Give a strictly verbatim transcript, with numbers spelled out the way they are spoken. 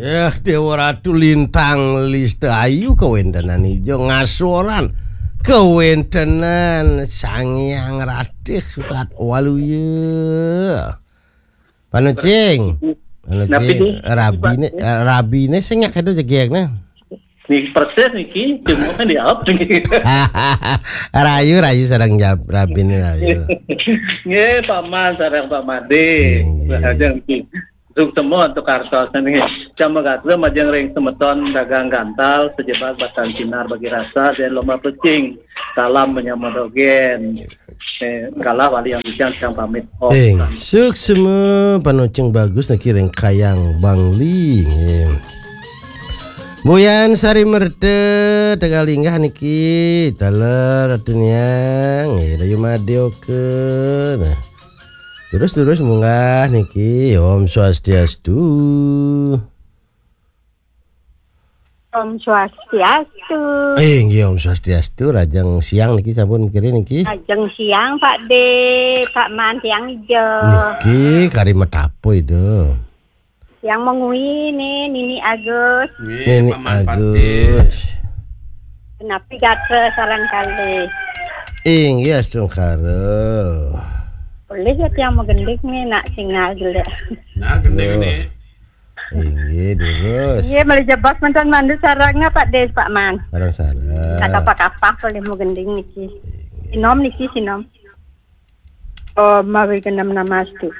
Eh, Dewa Ratu Lintang Lista Ayu, kawentenan ijo ngasoran. Kawentenan Sang Hyang Ratih Sat Waluya. Panucing. Napi Panucing. Di? Rabine, eh, rabine sing nyak kedo jegegna. Nih persis niki, cuma kan di up niki. Rayu, rayu sareng jab-, rabine rayu. Nggih, Pak Man sareng Pak Made. Nggih, nggih. Aja niki. Suksema untuk kartos niki. Jam gatur majeng ring semeton dagang gantal, sejebak batan sinar bagi rasa, dan lomba pecing. Salam menyama dogen. Eh, kalah wali yang bisa yang pamit. Oh. Eh, suksema Panucing Bagus niki ring Kayang Bangli. Nggih. Buyan Sari Merta, tegal linggah niki, taler Ratu Niang, nggih, Rayu Made oke. Nah. Terus-terus munggah niki, Om Swastiastu. Om Swastiastu. Eh, nggih, Om Swastiastu, rajang siang niki sampun mengkiri niki. Rajang siang, Pak De, Pak Man, tiang ijo. Niki kari metapo itu. Yang mengui nih, Nini Agus. Nggih, Nini Paman Agus. Patih. Kenapi gatra sareng kalih. Inggih, astungkara. Boleh ya tiang mau gending nih, nak sinyal jelek. Nah, gending. Duh. Nih. Inggih, durus. Iya, meli jebos mantan mandu sarangnya Pak Des, Pak Man. Sarang-sarang. Kata Pak Kapah boleh mau gending niki. Inggih. Sinom niki, sinom. Oh, mawi genam namastu.